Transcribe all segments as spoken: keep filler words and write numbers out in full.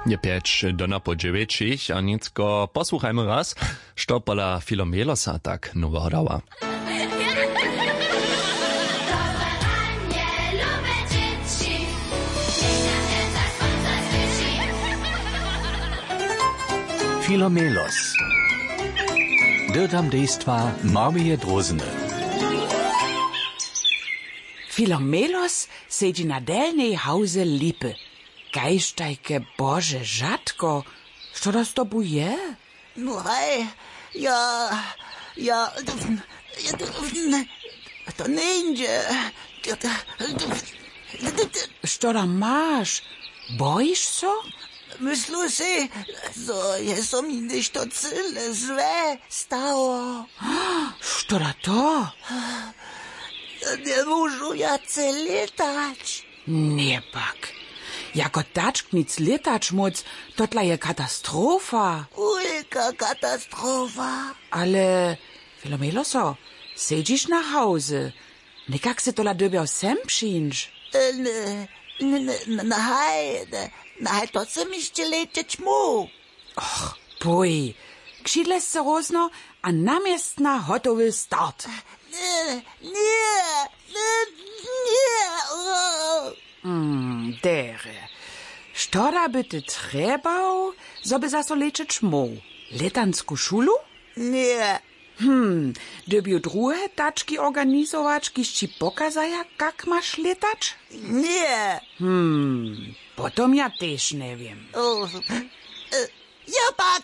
Je pjeć do napoł dźewjećich a nětko posłuchajmy raz, što pola Filomelosa tak noweho dała. Filomelos. Dyrdam dejstwa Marmije Drózny. Filomelos sedźi na delnej hałze lipy. Kaž tajke bože žatko, što to z tobu je? No haj, ja, ja, to njeńdźe. Što da maš? Bojiš so? Myslu sej, zo je so mi něšto cyle złe stało. Što da to? Njemóžu wjace lětać. Njepak. Jako tačk nic lětać móc, to dla je katastrofa. Wulka katastrofa. Ale, Filomelo so, sedźiš na hałzy. Někak sy tola dyrbjał sem přińć. Nahaj, nahaj, to sy mi sće lećeć móhł. Och, pój. Křidle sce rózno a na městna hotowy start. Ně, ně, ně, ně. Derje, što da by ty trjebał, zo by zaso lećeć móhł? Lětansku šulu? Ně. Hm, dyrbju druhe tački organizować, kiž ći pokazaja, kak maš lětać? Ně. Hm, potom ja tež njewěm. Ja pak,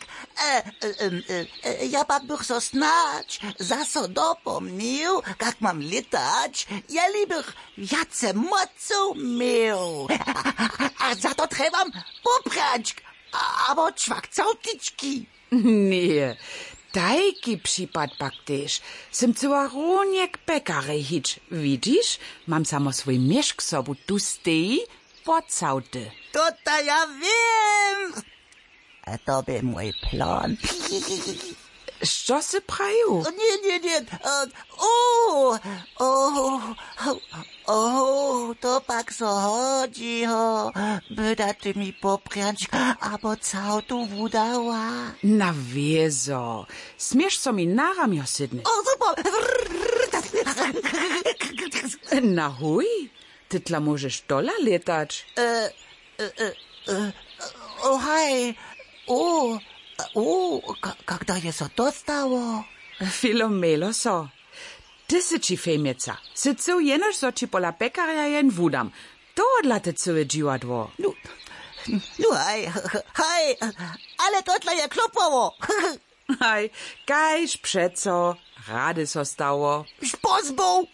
ja pak bych so snadź zaso dopomnił, kak mam lětać, jeli bych wjace mocow měł. A za to trjebam poprjančk abo čwak całtički. Ně, tajki připad pak tež. Sym cyła runje k pekarjej hić. Widźiš, mam samo swój měšk sobu tu steji, pocałty. To ta ja wěm. A to bě mój plan. Što sy prajił? Ně, ně, ně. O, o, o, to pak so hodźi, ho. Byda ty mi poprjančk abo całtu wudała. Na wězo. Směš so mi na ramjo sydnyć? Na huj. Ty tla móžeš tola lětać. O haj. O, o, kak da je so to stało? Filomelo so. Ty sy ći fejmjeca. Sy cył jenož zo ći pola pekarja jen wudam. Tohodla te cyłe dźiwadło. Nu, nu haj, haj. Ale to tla je klopowało. Haj, kaž přeco. Rady so stało. Spozboł.